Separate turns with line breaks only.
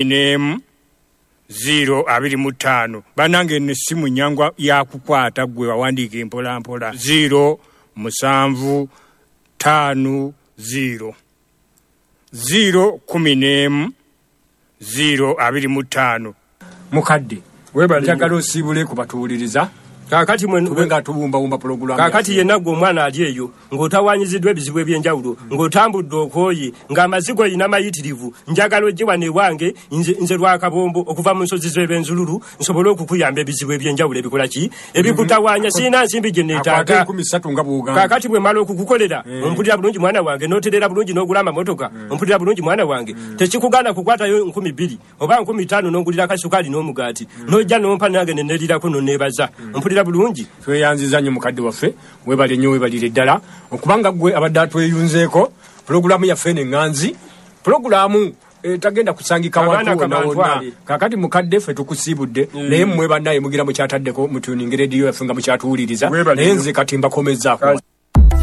Nemu 0 25. Banange eno essimu nyangu yakukwata gwe wawandiika empola mpola. 0 7 5 0 0 11 0 25. Mukadde,
Webale
njagala osiibule ku batuwuliriza.
Kaakati mwe
tube nga tubumbabumba pulogulaamu.
Kaakati yenna gwe omwana ali eyo ng'otawaanyiziddwa ebizibu eby'enjawulo, ng'otambudde okooye, ng'amazigo oyina mayitirivu, njagala ojje wano ewange nze Lwakabombo okuva mu nsozi z'Ebenzululu nsobole okukuyamba ebizibu eby'enjawulo ebikola ki? Ebikutawaanya. Sirina nsimbi gye neetaaga.
Akwate 3000 nga bw'ogamba.
Kaakati bwe mmala okukukolera, ompulira bulungi mwana wange, n'otereera bulungi n'ogula amamotoka, ompulira bulungi mwana wange, tekikugaana kukwatayo 2000 oba 5000 n'ongulira akasukaali n'omugaati, n'ojja n'ompa nange ne neerirako n'onneebaza. Ompulira bulungi?
Tweyanziza nnyo mukadde waffe, weebale nnyo, weebalire ddala okubanga ggwe abadde atweyunzeeko. Pulogulaamu yaffe eno eŋŋanzi, pulogulaamu etagenda kusangika
Abaana
wantu wonna wonna.
kabantwale.
Kaakati mukadde ffe tukusiibudde, naye mmwe bannaye mugira mukyataddeko mutuninge rediyo yaffe nga mukyatuwuliriza,
Weebale
naye
nnyo.
nze kati mbakomezzaako.